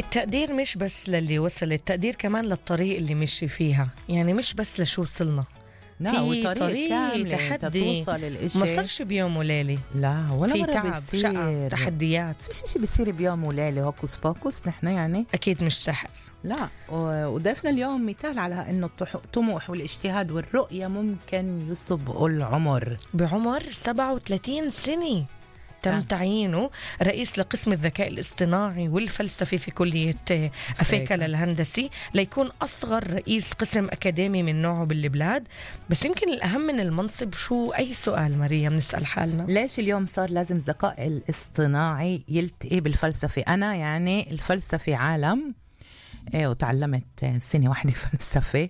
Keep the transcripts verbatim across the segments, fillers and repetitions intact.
التقدير مش بس للي وصل، التقدير كمان للطريق اللي مشي فيها، يعني مش بس لشو وصلنا. لا في وطريق طريق كامل تحدي توصل الاشي ما صارش بيوم وليلة. لا ولا في مرة تعب، بيصير شقة، تحديات. فيش اشي بيصير بيوم وليلة هوكس بوكس نحن يعني أكيد مش سهل. لا وضيفنا اليوم مثال على انه الطموح والاجتهاد والرؤية ممكن يسبقوا العمر. بعمر سبعة وثلاثين سنة تم آه. تعيينه رئيس لقسم الذكاء الاصطناعي والفلسفة في كلية أفيكا للهندسي ليكون أصغر رئيس قسم أكاديمي من نوعه بالبلاد. بس يمكن الأهم من المنصب شو؟ أي سؤال مريم نسأل حالنا، ليش اليوم صار لازم الذكاء الاصطناعي يلتقي بالفلسفة؟ أنا يعني الفلسفة عالم إيه، وتعلمت سنة واحدة فلسفة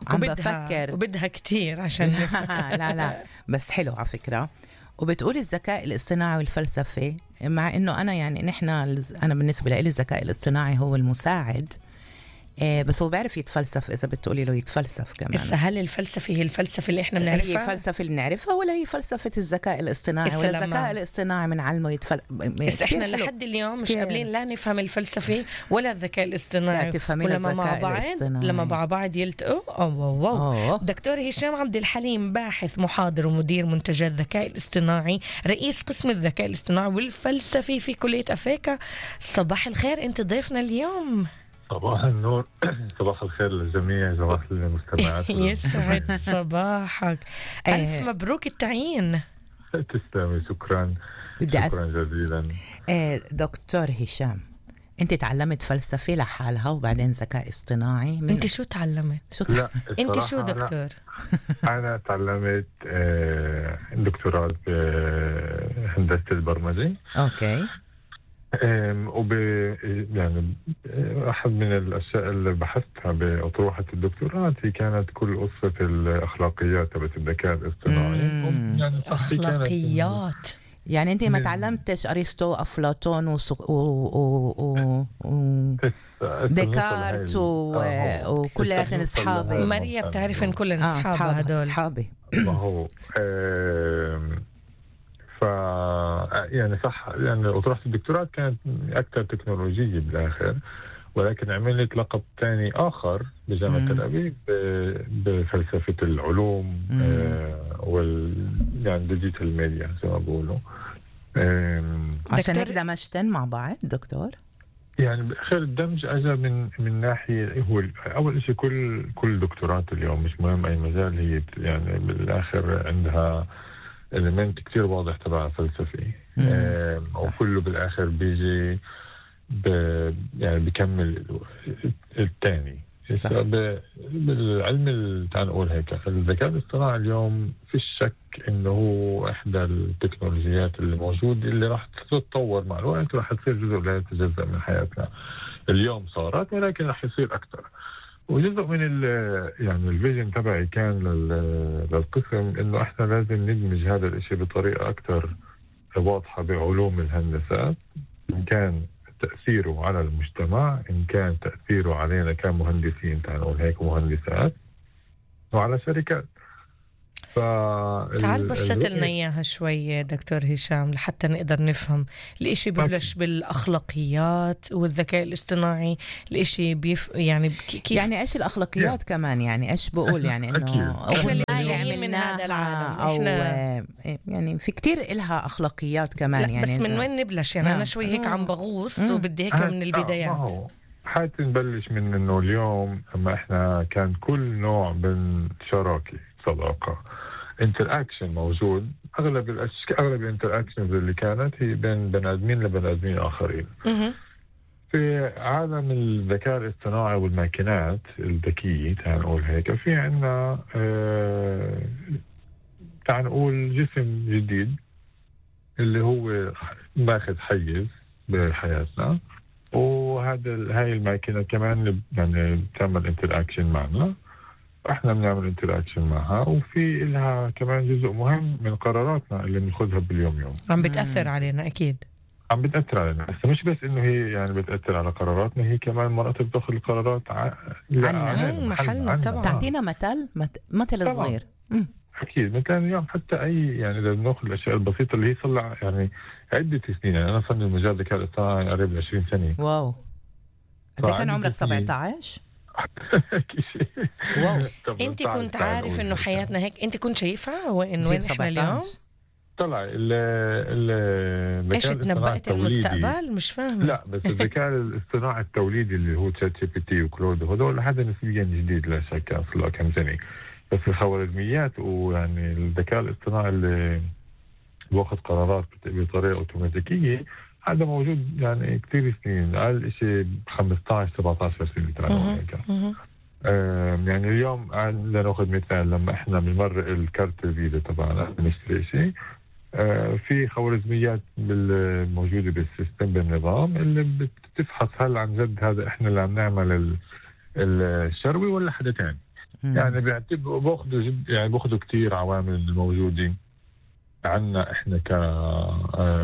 عم بفكر وبدها كتير عشان لا لا بس حلو على فكرة. وبتقول الذكاء الاصطناعي والفلسفة، مع انه انا يعني نحن انا بالنسبة لي الذكاء الاصطناعي هو المساعد، إيه بس هو بيعرف يتفلسف إذا بتقولي له يتفلسف كمان. بس هل الفلسفة هي الفلسفة اللي إحنا بنعرفها؟ هي فلسفة اللي بنعرفها ولا هي فلسفة الذكاء الاصطناعي؟ ولا الذكاء الاصطناعي من علمه يتفل بس إحنا لحد اليوم مش قابلين لا نفهم الفلسفة ولا الذكاء الاصطناعي. ولما مع بعض لما مع بعض يلتقوا أوه واو. دكتور هشام عبد الحليم، باحث محاضر ومدير منتجات الذكاء الاصطناعي، رئيس قسم الذكاء الاصطناعي والفلسفة في كلية أفيكا. صباح الخير، أنت ضيفنا اليوم. صباح النور، صباح الخير للجميع، صباح المستمعات. يسعد صباحك. ألف مبروك التعيين. تسلمي، شكرا شكرا جزيلا. دكتور هشام، انت تعلمت فلسفة لحالها وبعدين ذكاء اصطناعي من... انت شو تعلمت؟ شو ت... لا انت شو دكتور؟ انا تعلمت دكتوراه بهندسة البرمجة. اوكي. وب يعني أحد من الأشياء اللي بحثتها بأطروحة الدكتوراه هي كانت كل قصة الأخلاقيات تبعت الذكاء الاصطناعي. يعني أخلاقيات يعني أنت ما تعلمتش أرسطو أفلاطون و و و ديكارت وكل هذين أصحابي. ماريا بتعرف إن كلنا أصحابها هدول أصحابي. ما هو ف يعني صح، يعني أطروحة الدكتوراه كانت أكثر تكنولوجية بالآخر، ولكن عملت لقب ثاني آخر بجامعة تل أبيب بفلسفة العلوم آه وال يعني ديجيتال ميديا زي ما بقولوا. عشان هيك دمجتن مع بعض دكتور؟ يعني بالآخر الدمج أجى من من ناحية هو أول شيء كل كل دكتورات اليوم مش مهم أي مجال، هي يعني بالآخر عندها إليمنت كتير واضح تبع فلسفي، وكله بالآخر بيجي ب يعني بيكمل الثاني. بالعلم اللي تعال نقول هيك، الذكاء الاصطناعي اليوم في شك إنه هو إحدى التكنولوجيات اللي موجودة اللي راح تتطور مع الوقت وراح تصير جزء لا يتجزأ من حياتنا. اليوم صارت ولكن راح يصير أكتر. وجزء من ال يعني الفيجن تبعي كان للقسم إنه إحنا لازم ندمج هذا الإشي بطريقة أكتر واضحة بعلوم الهندسات، إن كان تأثيره على المجتمع، إن كان تأثيره علينا كمهندسين تعال نقول هيك مهندسات، وعلى شركات. تعال بسط لنا إياها شوي دكتور هشام لحتى نقدر نفهم. الإشي ببلش بالأخلاقيات والذكاء الاصطناعي، الإشي بيف يعني كيف يعني إيش الأخلاقيات yeah. كمان يعني إيش بقول يعني إنه إحنا اللي جايين من هذا العالم أو يعني في كتير إلها أخلاقيات كمان يعني. بس من وين نبلش يعني؟ أنا شوي هيك عم بغوص وبدي هيك من البدايات. حتى نبلش من إنه اليوم أما إحنا كان كل نوع من شراكة صداقة انتراكشن موجود، اغلب الاشياء اغلب الانتراكشنز اللي كانت هي بين بني ادمين لبني ادمين اخرين. في عالم الذكاء الاصطناعي والماكينات الذكيه تعال نقول هيك، في عندنا اه تعال نقول جسم جديد اللي هو ماخذ حيز بحياتنا، وهذا هاي الماكينه كمان يعني بتعمل انتراكشن معنا، احنا بنعمل انتراكشن معها، وفي لها كمان جزء مهم من قراراتنا اللي بناخذها باليوم يوم عم بتأثر علينا. اكيد عم بتأثر علينا، بس مش بس انه هي يعني بتأثر على قراراتنا، هي كمان مرات بتاخذ القرارات ع... عنا محلنا. طبعا تعطينا مثل مثل صغير. اكيد مثلا اليوم حتى اي يعني اذا بناخذ الاشياء البسيطه اللي هي صار يعني عده سنين، يعني انا صار لي مجال الذكاء الاصطناعي قريب ل عشرين سنه. واو. ده كان عمرك سبعة عشر؟ واو. انت كنت عارف انه حياتنا هيك؟ انت كنت شايفها وين وين احنا اليوم؟ طلع ال ال ايش تنبأت المستقبل؟ مش فاهمه. لا بس الذكاء الاصطناعي التوليدي اللي هو تشات جي بي تي وكلود هذول هذا نسبيا جديد لا شك، اصله كم سنه. بس الخوارزميات ويعني الذكاء الاصطناعي اللي بياخذ قرارات بطريقه اوتوماتيكيه هذا موجود يعني كثير سنين، اقل شيء خمسطعش سبعطعش سنه تقريبا. يعني اليوم لناخذ مثال، لما احنا بنمرق الكارت الفيزا تبعنا بنشتري شيء، آه في خوارزميات موجوده بالسيستم بالنظام اللي بتفحص هل عن جد هذا احنا اللي عم نعمل الشروي ولا حدا ثاني. يعني بيعتبروا باخذوا جد يعني باخذوا كثير عوامل الموجوده عنا احنا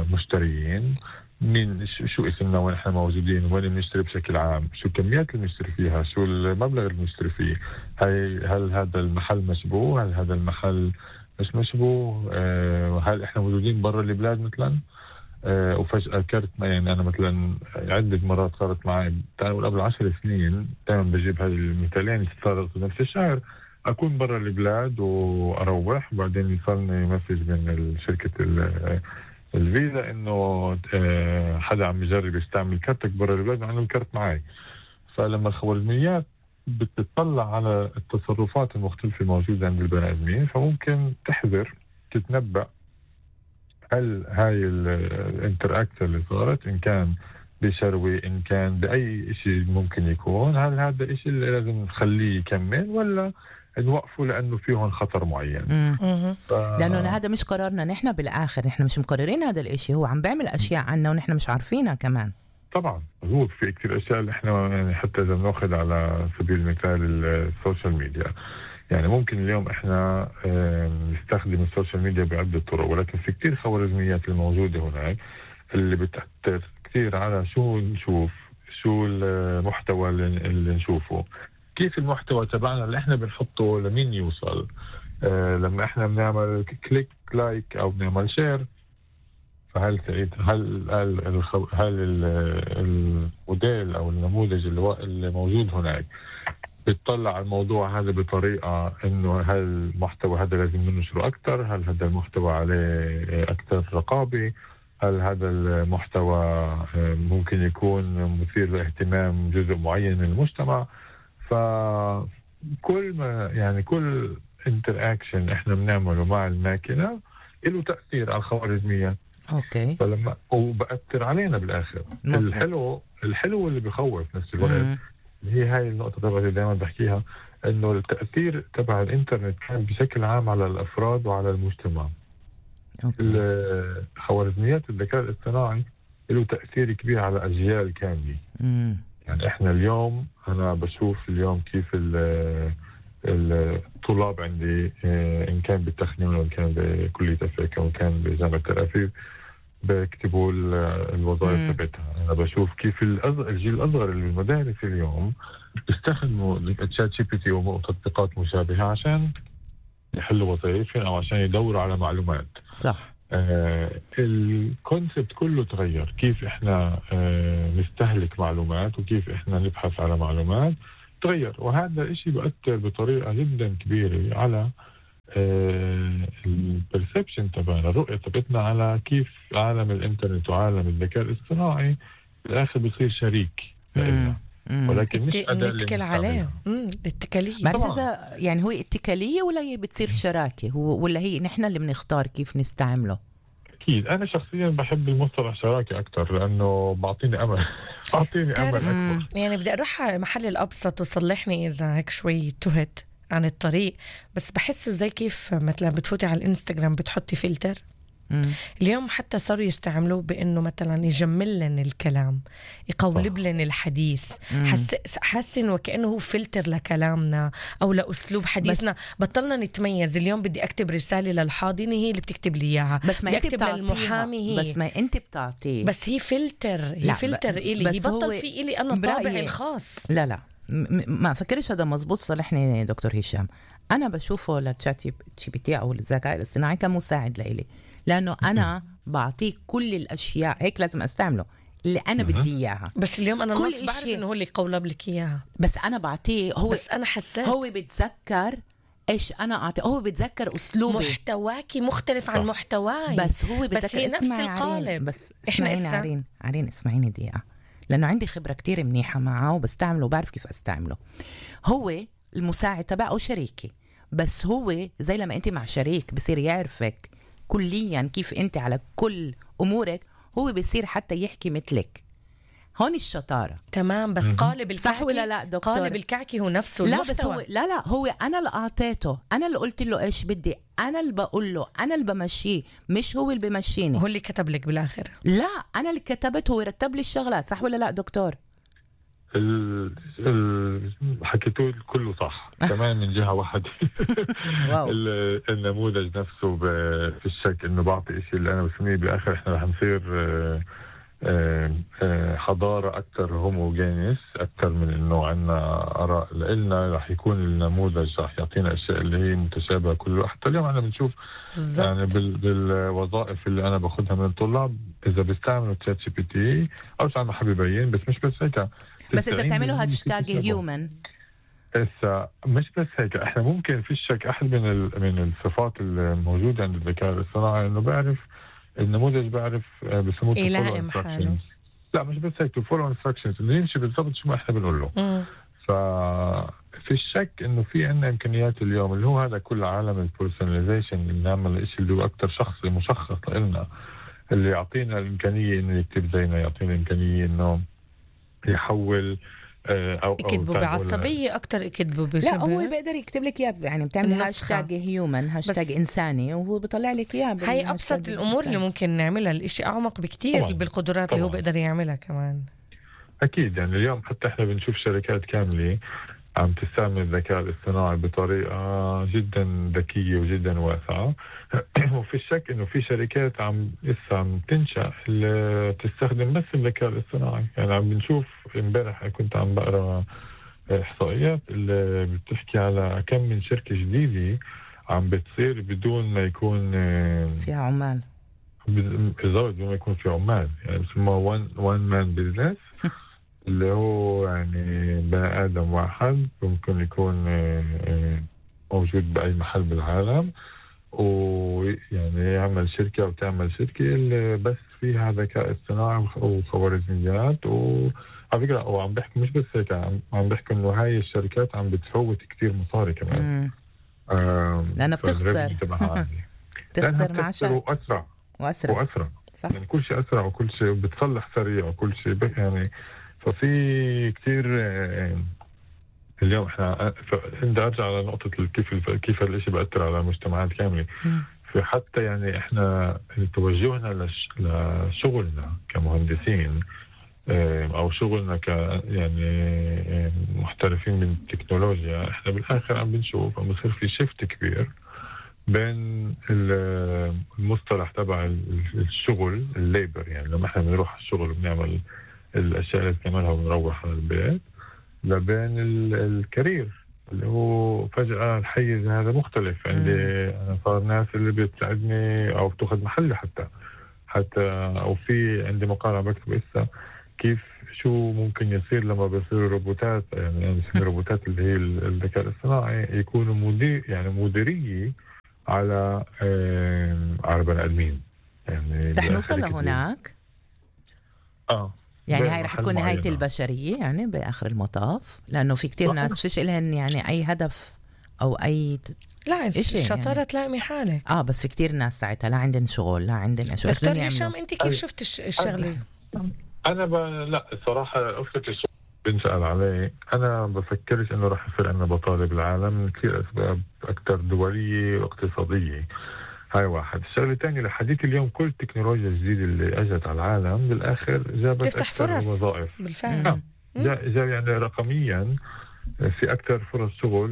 كمشتريين، من شو اسمنا، وين احنا موجودين، وين بنشتري بشكل عام، شو الكميات اللي بنشتري فيها، شو المبلغ اللي بنشتري فيه، هل هل هذا المحل مشبوه، هل هذا المحل مش مشبوه، أه هل احنا موجودين برا البلاد مثلا، أه وفجأة كرت ما يعني انا مثلا عدة مرات صارت معي قبل عشر سنين، دائما بجيب هذه المثالين صارت نفس الشهر، اكون برا البلاد واروح وبعدين يوصلني مسج من شركة الفيزا انه حدا عم يجرب يستعمل كارتك برا البلاد مع انه الكارت معي. فلما الخوارزميات بتطلع على التصرفات المختلفة الموجودة عند البني ادمين، فممكن تحذر تتنبأ هل هاي الانتراكت اللي صارت ان كان بشروي ان كان باي شيء ممكن يكون، هل هذا الشيء اللي لازم نخليه يكمل ولا نوقفوا لأنه فيهم خطر معين. ف... لأنه هذا مش قرارنا نحن بالآخر، نحن مش مقررين هذا الاشي، هو عم بيعمل أشياء عنا ونحن مش عارفينها كمان. طبعا مضبوط، في كتير أشياء اللي احنا يعني حتى إذا بناخذ على سبيل المثال السوشيال ميديا، يعني ممكن اليوم احنا نستخدم السوشيال ميديا بعدة طرق، ولكن في كتير خوارزميات الموجودة هناك اللي بتأثر كتير على شو نشوف، شو المحتوى اللي نشوفه، كيف المحتوى تبعنا اللي احنا بنحطه لمين يوصل. آه لما احنا بنعمل كليك لايك او بنعمل شير، فهل سعيد هل هل, هل الموديل او النموذج اللي موجود هناك بتطلع على الموضوع هذا بطريقه انه هل المحتوى هذا لازم ننشره اكثر، هل هذا المحتوى عليه اكثر رقابه، هل هذا المحتوى ممكن يكون مثير لاهتمام جزء معين من المجتمع. فكل ما يعني كل انتراكشن احنا بنعمله مع الماكينه له تاثير على الخوارزميات. اوكي. فلما وبأثر علينا بالاخر. مصر. الحلو الحلو اللي بخوف نفس الوقت، هي هاي النقطه تبعي دائما بحكيها، انه التاثير تبع الانترنت كان بشكل عام على الافراد وعلى المجتمع. خوارزميات الذكاء الاصطناعي له تاثير كبير على اجيال كامله. امم يعني احنا اليوم انا بشوف اليوم كيف الطلاب عندي ان كان بالتخنين وان كان بكلية افريقيا وان كان بجامعة تل ابيب بيكتبوا الوظائف تبعتها. انا بشوف كيف الجيل الاصغر اللي بالمدارس اليوم بيستخدموا الشات جي بي تي وتطبيقات مشابهة عشان يحلوا وظائفهم او عشان يدوروا على معلومات. صح. آه الكونسبت كله تغير، كيف احنا آه نستهلك معلومات وكيف احنا نبحث على معلومات تغير، وهذا الشيء بيأثر بطريقة جدا كبيرة على آه البرسبشن تبعنا، الرؤية تبعتنا على كيف عالم الانترنت وعالم الذكاء الاصطناعي بالاخر بيصير شريك لنا. ولكن مش نتكل عليه. امم الاتكاليه بعرف اذا يعني هو اتكاليه ولا هي بتصير شراكه، هو ولا هي نحن اللي بنختار كيف نستعمله. اكيد انا شخصيا بحب المصطلح شراكه اكثر لانه بعطيني امل بعطيني امل اكثر. يعني بدي اروح على المحل الابسط وصلحني اذا هيك شوي تهت عن الطريق، بس بحسه زي كيف مثلا بتفوتي على الانستغرام بتحطي فلتر. مم. اليوم حتى صاروا يستعملوه بانه مثلا يجمل لنا الكلام، يقولب لنا الحديث، حس حاسين وكانه هو فلتر لكلامنا او لاسلوب حديثنا. بطلنا نتميز. اليوم بدي اكتب رساله للحاضنه هي اللي بتكتب لي اياها، بس ما بدي اكتب للمحامي هي، بس ما انت بتعطيه، بس هي فلتر هي فلتر الي يبطل في الي انا طابعي الخاص. لا لا م- ما فكرش هذا مزبوط. صلحني دكتور هشام، انا بشوفه للشات جي بي تي او الذكاء الاصطناعي كمساعد لإلي، لأنه أنا بعطيه كل الأشياء هيك لازم أستعمله. اللي انا بدي اياها. بس اليوم انا نص بعرف انه هو اللي قولب لك اياها، بس انا بعطيه هو، بس انا حسيت هو بتذكر ايش انا اعطي، هو بتذكر اسلوبي، محتواكي مختلف عن محتواي، بس هو بس هي نفس القالب. بس اسمعيني عرين عرين اسمعيني دقيقه، لانه عندي خبره كتير منيحه معه وبستعمله وبعرف كيف استعمله. هو المساعد تبعه او شريكي، بس هو زي لما انت مع شريك بصير يعرفك كليا كيف انت على كل امورك، هو بصير حتى يحكي مثلك. هون الشطاره. تمام، بس قالب الكعكي صح ولا لا دكتور؟ قالب الكعكي هو نفسه لا المحتوى. بس هو لا لا هو انا اللي اعطيته، انا اللي قلت له ايش بدي، انا اللي بقول له، انا اللي بمشيه، مش هو اللي بمشيني. هو اللي كتب لك بالاخر؟ لا انا اللي كتبت، هو رتب لي الشغلات. صح ولا لا دكتور؟ ال ال حكيتوا كله صح كمان من جهه واحده. النموذج نفسه في الشك انه بعطي شيء اللي انا بسميه بالاخر احنا رح نصير حضاره اكثر هوموجينيس، اكثر من انه عندنا اراء لنا، رح يكون النموذج رح يعطينا اشياء اللي هي متشابهه كله. حتى اليوم احنا بنشوف بالزبط. يعني بال بالوظائف اللي انا باخذها من الطلاب اذا بيستعملوا تشات جي بي تي او عم بحب يبين، بس مش بس هيك، بس اذا بتعملوا هاشتاج هيومن. هسه مش بس هيك، احنا ممكن في الشك احد من من الصفات الموجوده عند الذكاء الاصطناعي انه بعرف النموذج، بعرف بسموه يلائم حاله. لا مش بس هيك، فولو انستراكشنز، انه يمشي بالضبط شو ما احنا بنقول له. ففي الشك انه في عندنا امكانيات اليوم اللي هو هذا كل عالم البيرسوناليزيشن، اللي نعمل الشيء اللي هو اكثر شخصي مشخص لنا، اللي يعطينا الامكانيه انه يكتب زينا، يعطينا الامكانيه انه يحول او يكتبوا بعصبيه اكثر، يكتبوا بشبه. لا هو بيقدر يكتب لك اياه، يعني بتعمل هاشتاج هيومن، هاشتاج انساني، وهو بيطلع لك اياه. هي ابسط الامور اللي ممكن نعملها، الاشي اعمق بكتير طبعاً. بالقدرات طبعاً. اللي هو بيقدر يعملها كمان. اكيد يعني اليوم حتى احنا بنشوف شركات كامله عم تستعمل الذكاء الاصطناعي بطريقه جدا ذكيه وجدا واسعه. وفي الشك انه في شركات عم لسه عم تنشأ اللي تستخدم بس الذكاء الاصطناعي. يعني عم بنشوف، امبارح كنت عم بقرا احصائيات اللي بتحكي على كم من شركه جديده عم بتصير بدون ما يكون فيها عمال، بالضبط بدون ما يكون في عمال، يعني بسموها وان وان مان بزنس، اللي هو يعني بني آدم واحد ممكن يكون موجود بأي محل بالعالم، ويعني يعمل شركة أو تعمل شركة اللي بس فيها ذكاء اصطناعي وخوارزميات. وعلى فكرة وعم بحكي مش بس هيك، عم بحكي إنه هاي الشركات عم بتفوت كتير مصاري كمان، لأنها بتخسر بتخسر مع شركة وأسرع وأسرع وأسرع صح. يعني كل شيء أسرع وكل شيء بتصلح سريع وكل شيء يعني. ففي كتير اليوم احنا بدي ارجع على نقطة كيف كيف هالشيء بأثر على المجتمعات كاملة. في حتى يعني احنا توجهنا لشغلنا كمهندسين او شغلنا ك يعني محترفين من التكنولوجيا، احنا بالاخر عم بنشوف عم بصير في شيفت كبير بين المصطلح تبع الشغل الليبر، يعني لما احنا بنروح على الشغل وبنعمل الاشياء اللي بنعملها ونروح على البيت، لبين الكارير اللي هو فجأة الحيز هذا مختلف. عندي انا صار ناس اللي بتساعدني او بتاخذ محلي حتى حتى او في عندي مقال عم بكتب لسه كيف شو ممكن يصير لما بيصيروا روبوتات، يعني يعني روبوتات اللي هي الذكاء الاصطناعي يكونوا مدير يعني مديرية على على بني ادمين. يعني رح نوصل لهناك اه يعني هاي رح تكون نهاية البشرية يعني بآخر المطاف، لأنه في كتير ناس فيش إلهن يعني أي هدف أو أي لا الشطارة يعني. تلاقي حالك آه بس في كتير ناس ساعتها لا عندن شغل لا عندن أشياء. دكتور هشام أنت كيف شفت الشغلة؟ أنا ب... لا الصراحة أفتك الشغل بنسأل عليه، أنا بفكرش إنه رح يصير عندنا بطالة بالعالم كثير أسباب أكثر دولية واقتصادية. هاي واحد. الشغله الثانيه لحديث اليوم كل التكنولوجيا الجديده اللي اجت على العالم بالاخر جابت تفتح فرص وظائف بالفعل. جاب يعني رقميا في أكثر فرص شغل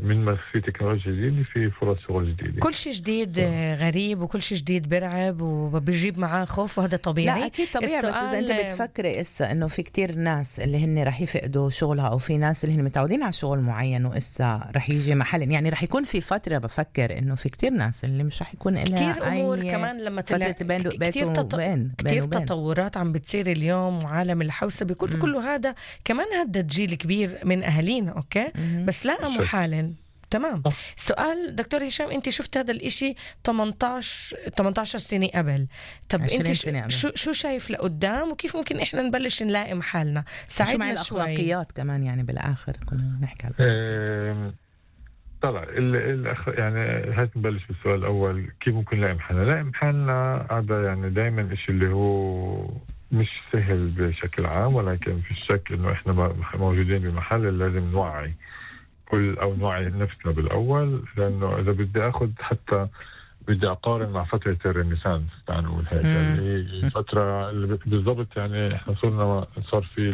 من ما في تكنولوجيا جديدة، في فرص شغل جديدة. كل شيء جديد غريب وكل شيء جديد برعب وبيجيب معاه خوف، وهذا طبيعي. لا أكيد طبيعي، بس إذا أنت بتفكري إسا إنه في كتير ناس اللي هن رح يفقدوا شغلها، أو في ناس اللي هن متعودين على شغل معين وإسا رح يجي محل، يعني رح يكون في فترة بفكر إنه في كتير ناس اللي مش رح يكون لها كتير أمور كمان لما تلاقي كتير, تط... كتير تطورات عم بتصير اليوم، وعالم الحوسة بكل كله هذا كمان هدد جيل كبير من أهالينا. أوكي م- بس لاقموا حالن. تمام. سؤال دكتور هشام، انت شفت هذا الاشي ثمانية عشر سنة قبل، طب انت شو شو شايف لقدام، وكيف ممكن احنا نبلش نلاقي محلنا؟ ساعدنا شوي. الأخلاقيات كمان يعني بالآخر كنا نحكي على طلع الأخ... يعني هات نبلش بالسؤال الأول، كيف ممكن نلاقي محلنا؟ نلاقي محلنا هذا يعني دايما إشي اللي هو مش سهل بشكل عام، ولكن في الشك إنه إحنا موجودين بمحل لازم نوعي كل أو نوعي نفسنا بالأول، لأنه إذا بدي أخذ حتى بدي أقارن مع فترة الرينيسانس تعال نقول هيك، يعني فترة بالضبط، يعني إحنا صرنا صار في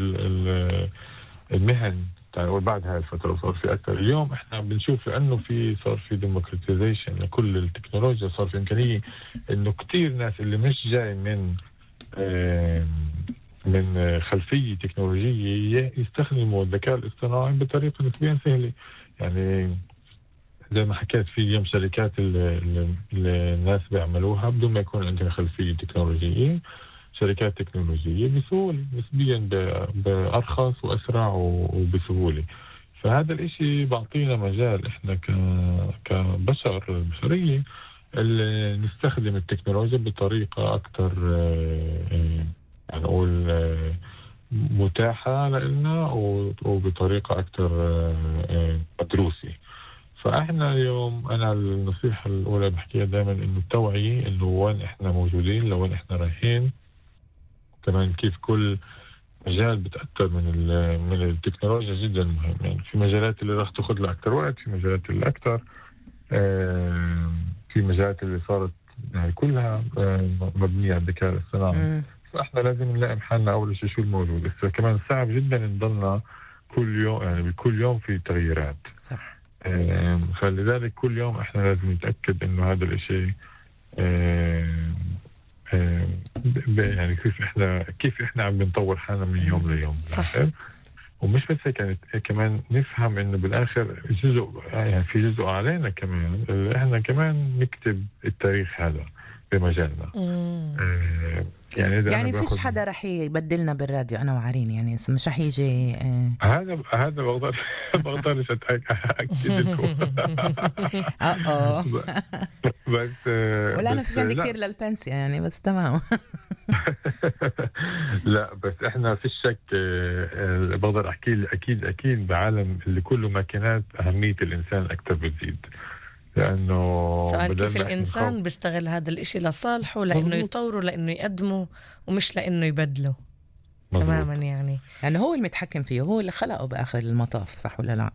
المهن وبعد هاي الفترة صار في أكثر. اليوم إحنا بنشوف لأنه في صار في ديموكراتيزيشن لكل التكنولوجيا، صار في إمكانية إنه كتير ناس اللي مش جاي من من خلفية تكنولوجية يستخدموا الذكاء الاصطناعي بطريقة نسبيا سهلة. يعني زي ما حكيت في اليوم شركات اللي الناس بيعملوها بدون ما يكون عندنا خلفية تكنولوجية، شركات تكنولوجية بسهولة نسبيا بأرخص وأسرع وبسهولة. فهذا الاشي بعطينا مجال احنا كبشر البشرية اللي نستخدم التكنولوجيا بطريقة أكثر يعني نقول متاحة لنا وبطريقة أكثر مدروسة. فإحنا اليوم أنا النصيحة الأولى بحكيها دائما إنه التوعية، إنه وين إحنا موجودين لوين إحنا رايحين، كمان كيف كل مجال بتأثر من من التكنولوجيا جدا مهم. يعني في مجالات اللي راح تأخذ لها أكثر وقت، في مجالات اللي أكثر، في مجالات اللي صارت يعني كلها مبنية على الذكاء الاصطناعي. فإحنا لازم نلاقي محلنا أول شيء شو الموجود. بس كمان صعب جدا نضلنا كل يوم، يعني بكل يوم في تغييرات. صح. فلذلك كل يوم إحنا لازم نتأكد إنه هذا الشيء يعني كيف إحنا كيف إحنا عم بنطور حالنا من يوم ليوم. صح. ومش بس هيك، يعني كمان نفهم إنه بالآخر جزء يعني في جزء علينا كمان اللي إحنا كمان نكتب التاريخ هذا بمجالنا. آه يعني يعني فيش حدا رح يبدلنا بالراديو أنا وعرين، يعني مش رح يجي آه هذا هذا بقدر بقدرش أتأكد لكم. اه بس ولا أنا فيش عندي كثير للبنسيا يعني، بس تمام. لا بس إحنا في الشك بقدر أحكي أكيد أكيد بعالم اللي كله ماكينات أهمية الإنسان أكثر بتزيد، لأنه سؤال كيف الإنسان بيستغل هذا الإشي لصالحه، لأنه يطوره، لأنه يقدمه، ومش لأنه يبدله. مزبوط. تماما يعني يعني هو المتحكم فيه، هو اللي خلقه بآخر المطاف، صح ولا لا؟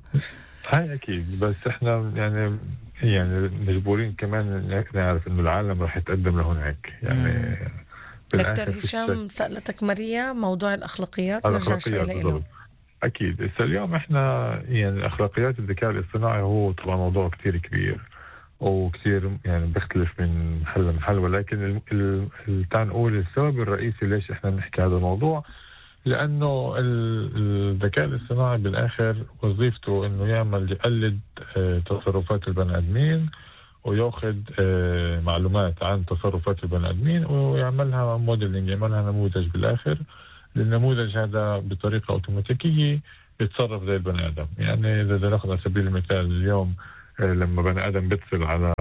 هاي أكيد. بس إحنا يعني يعني مجبورين كمان نعرف إنه العالم راح يتقدم لهناك. يعني دكتور هشام سألتك ماريا موضوع الأخلاقيات، نرجع شوي له. أكيد. بس اليوم إحنا يعني أخلاقيات الذكاء الاصطناعي هو طبعا موضوع كتير كبير وكتير يعني بيختلف من محل لمحل، ولكن تعال نقول السبب الرئيسي ليش إحنا بنحكي هذا الموضوع، لأنه الذكاء الاصطناعي بالآخر وظيفته إنه يعمل يقلد تصرفات البني آدمين ويأخذ معلومات عن تصرفات البني آدمين ويعملها موديلينج، يعملها نموذج بالآخر. النموذج هذا بطريقة أوتوماتيكية يتصرف زي البني آدم. يعني إذا نأخذ على سبيل المثال اليوم لما بني آدم بيتصل على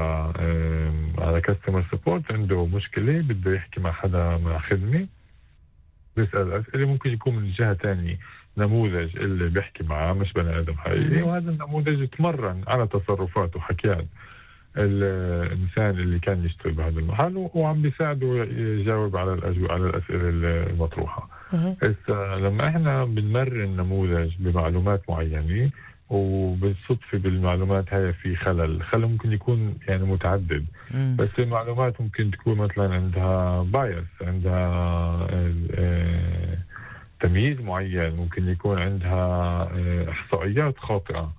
على كاستمر سبورت عنده مشكلة بده يحكي مع حدا مع خدمة، بيسأل أسئلة، ممكن يكون من جهة تانية نموذج اللي بيحكي معاه مش بني آدم حقيقي، وهذا النموذج يتمرن على تصرفات وحكيات الإنسان اللي كان يشتغل بهذا المحل، وعم بيساعده يجاوب على الأجو على الأسئلة المطروحة. إذا لما إحنا بنمرن نموذج بمعلومات معينة وبالصدفة بالمعلومات هاي في خلل، خلل ممكن يكون يعني متعدد، مم. بس المعلومات ممكن تكون مثلا عندها بايس، عندها تمييز معين، ممكن يكون عندها إحصائيات خاطئة.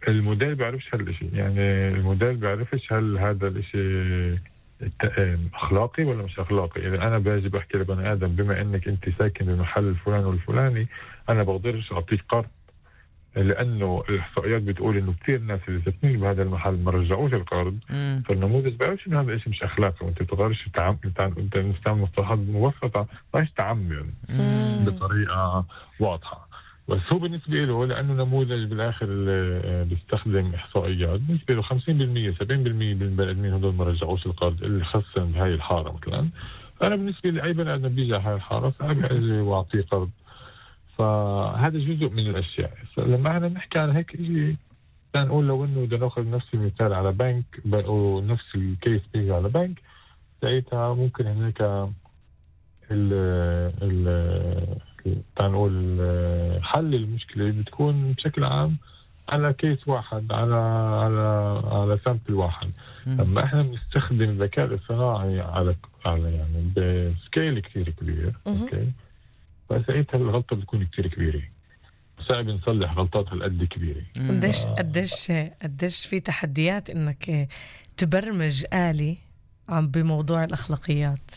الموديل بيعرفش هالشيء، يعني الموديل بيعرفش هل هذا الشيء أخلاقي ولا مش أخلاقي. إذا أنا باجي بحكي لبني آدم بما إنك أنت ساكن بمحل الفلاني والفلاني أنا بقدرش أعطيك قرض، لأنه الإحصائيات بتقول إنه كثير ناس اللي ساكنين بهذا المحل ما رجعوش القرض. فالنموذج بيعرفش إنه هذا الشيء مش أخلاقي، وأنت بتقدرش تعمم، أنت بتستعمل مصطلحات مبسطة ماش تعمم بطريقة واضحة. بس هو بالنسبة له لأنه نموذج بالآخر اللي بيستخدم إحصائيات، بالنسبة له خمسين بالمية سبعين بالمية من البني آدمين هدول ما رجعوش القرض اللي خصن بهاي الحارة مثلا. أنا بالنسبة لي أي بني آدم بيجي على هاي الحارة فأنا أجي وأعطيه قرض. فهذا جزء من الأشياء. لما احنا نحكي عن هيك شيء كان نقول لو إنه بدنا نأخذ نفس المثال على بنك ونفس الكيس بيجي على بنك، ساعتها ممكن هناك ال ال تعال نقول حل المشكلة بتكون بشكل عام على كيس واحد، على على على سامبل واحد. لما احنا بنستخدم الذكاء الاصطناعي على على يعني بسكيل كثير كبير، اوكي، فساعتها الغلطة بتكون كثير كبيرة، صعب نصلح غلطات هالقد كبيرة. قديش قديش قديش في تحديات انك تبرمج آلي عم بموضوع الأخلاقيات.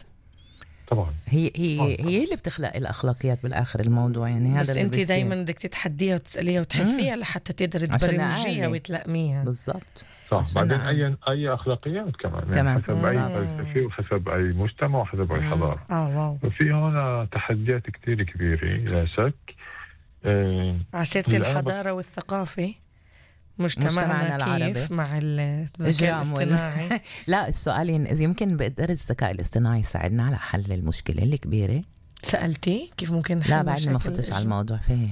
طبعا هي هي طبعاً. هي اللي بتخلق الأخلاقيات بالآخر الموضوع، يعني هذا بس أنت دايما بدك تتحديها وتسأليها وتحثيها لحتى تقدر تبرمجيها وتلائميها بالضبط. صح. بعدين أي أي أخلاقيات كمان, كمان. يعني حسب أي فلسفة وحسب أي مجتمع وحسب أي حضارة. آه واو. وفي هنا تحديات كتير كبيرة لا شك. آه عسيرة الحضارة والثقافة مجتمعنا العربي مع الذكاء الاصطناعي. وال... لا السؤال يمكن بقدر الذكاء الاصطناعي يساعدنا على حل المشكلة الكبيرة. سألتي كيف ممكن لا بعد ما فتش على الموضوع فيه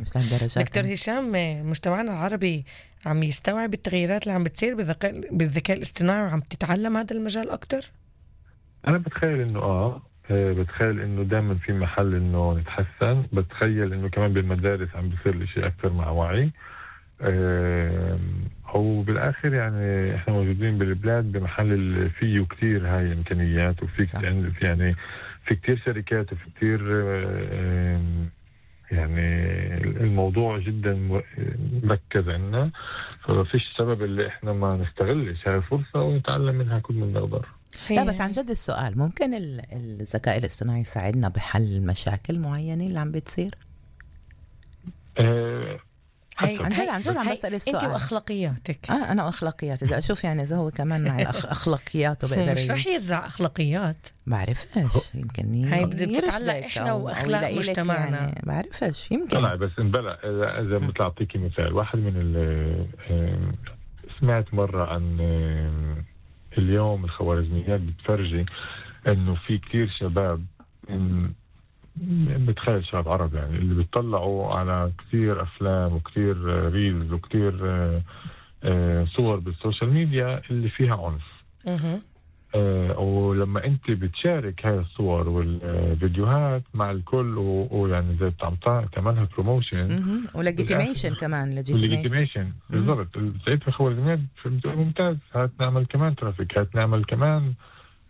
مش لهالدرجة. دكتور هشام، مجتمعنا العربي عم يستوعب التغييرات اللي عم بتصير بالذكاء بالذكاء الاصطناعي وعم تتعلم هذا المجال أكتر؟ أنا بتخيل إنه آه بتخيل إنه دائما في محل إنه نتحسن. بتخيل إنه كمان بالمدارس عم بيصير الشيء أكثر مع وعي. أو بالآخر يعني إحنا موجودين بالبلاد بمحل فيه كتير هاي إمكانيات، وفي يعني في كتير شركات وفي كتير يعني الموضوع جدا مركز عنا، ففيش سبب اللي إحنا ما نستغلش هاي الفرصة ونتعلم منها كل من نقدر. لا بس عن جد السؤال، ممكن الذكاء الاصطناعي يساعدنا بحل مشاكل معينة اللي عم بتصير؟ أه هي عن جد عن جد عم بسأل السؤال. انت واخلاقياتك. اه انا واخلاقياتي بدي اشوف يعني اذا هو كمان مع اخلاقياته بقدر. مش رح يزرع اخلاقيات. بعرفش يمكن هي بتتعلق احنا واخلاق مجتمعنا. يعني بعرفش يمكن. لا بس انبلع اذا مثل اعطيكي مثال واحد من ال سمعت مرة عن اليوم الخوارزميات بتفرجي انه في كتير شباب بتخيل شباب عرب يعني اللي بيطلعوا على كثير أفلام وكثير ريلز وكثير صور بالسوشيال ميديا اللي فيها عنف. أه ولما أنت بتشارك هاي الصور والفيديوهات مع الكل ويعني زي تعملها بروموشن وليجيتيميشن كمان ليجيتيميشن بالضبط. ساعتها خوارزميات ممتاز، هات نعمل كمان ترافيك، هات نعمل كمان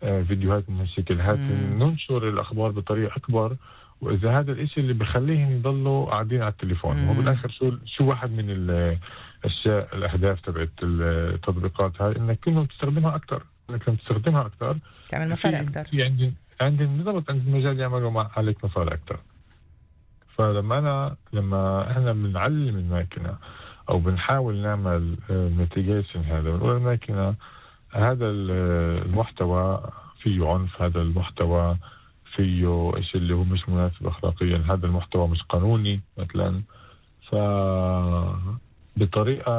فيديوهات من هالشكل، هات ننشر الأخبار بطريقة أكبر. وإذا هذا الإشي اللي بخليهم يضلوا قاعدين على التليفون، وهو بالآخر شو شو واحد من الأشياء الأهداف تبعت التطبيقات هاي إنك كلهم تستخدمها أكتر، إنك لما تستخدمها أكتر تعمل مصاري أكتر. في عندي عندي بالضبط عند المجال يعملوا مع عليك مصاري أكتر. فلما أنا لما إحنا بنعلم الماكينة أو بنحاول نعمل ميتيجيشن هذا، بنقول الماكينة هذا المحتوى فيه عنف، هذا المحتوى فيه إشي اللي هو مش مناسب أخلاقيا، هذا المحتوى مش قانوني مثلا. فبطريقة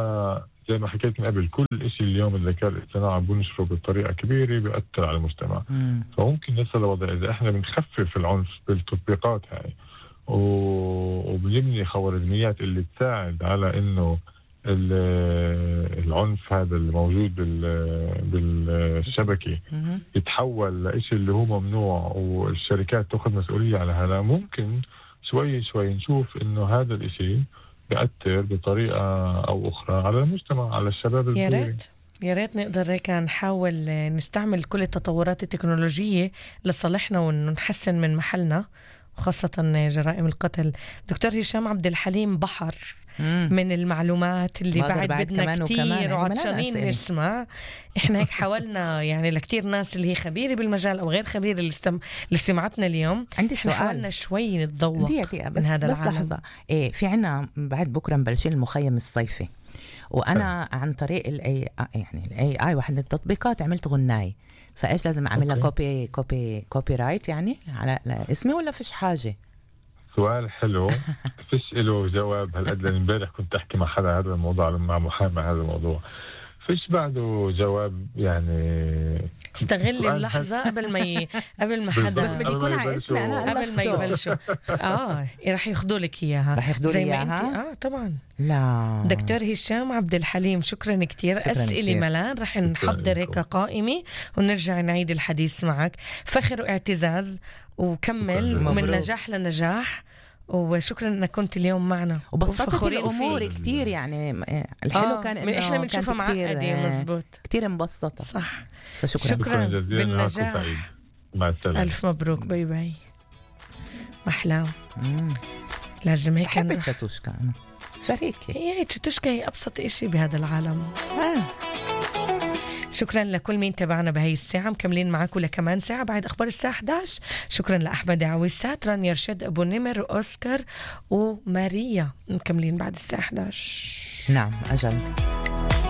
زي ما حكيت من قبل، كل إشي اليوم الذكاء الاصطناعي بنشره بطريقة كبيرة بيأثر على المجتمع. مم. فممكن نصل لوضع إذا إحنا بنخفف العنف بالتطبيقات هاي وبنبني خوارزميات اللي تساعد على إنه العنف هذا الموجود بالشبكة يتحول لإشي اللي هو ممنوع والشركات تأخذ مسؤولية على هذا، ممكن شوي شوي نشوف إنه هذا الإشي بيأثر بطريقة أو أخرى على المجتمع، على الشباب الصغير. يا ريت يا ريت نقدر هيك نحاول نستعمل كل التطورات التكنولوجية لصالحنا ونحسن من محلنا، وخاصة جرائم القتل. دكتور هشام عبد الحليم بحر مم. من المعلومات اللي بعد, بعد بدنا كتير وعطشانين نسمع. احنا هيك حاولنا يعني لكتير ناس اللي هي خبيرة بالمجال او غير خبيرة اللي, استم... اللي سمعتنا اليوم، عندي سؤال، حاولنا شوي نتذوق من هذا بس العالم. لحظة، إيه في عنا بعد بكرة مبلشين المخيم الصيفي، وانا عن طريق الاي يعني الاي اي واحد من التطبيقات عملت غناي، فايش لازم اعمل لها كوبي كوبي كوبي رايت يعني على اسمي ولا فيش حاجة؟ سؤال حلو. فيش له جواب هالقد، لأن امبارح كنت احكي مع حدا هذا الموضوع، مع محامي هذا الموضوع، فيش بعده جواب يعني. استغل اللحظة قبل ما ي... قبل ما حدا بس بدي يكون على اسمي أنا قبل ما يبلشوا. اه رح ياخدوا لك إياها، رح ياخدوا لي إياها. اه طبعا. لا دكتور هشام عبد الحليم شكرا كتير. أسئلة ملان رح نحضر هيك قائمة ونرجع نعيد الحديث معك. فخر واعتزاز وكمل ومن نجاح لنجاح، وشكرا انك كنت اليوم معنا وبسطت الامور كتير يعني. الحلو آه كان انه احنا بنشوفها معقده مزبوط كتير مبسطه صح. فشكرا شكرا بالنجاح. مع السلامه، الف مبروك. باي باي. محلاو. لازم هيك بحب تشاتوشكا انا شريكي. هي تشاتوشكا هي ابسط اشي بهذا العالم. آه. شكرا لكل مين تابعنا بهاي الساعة، مكملين معاكم لكمان ساعة بعد أخبار الساعة إحدى عشر. شكرا لأحمد عويسات، رانيا رشاد أبو نمر وأوسكار وماريا، مكملين بعد الساعة إحدى عشر. نعم أجل.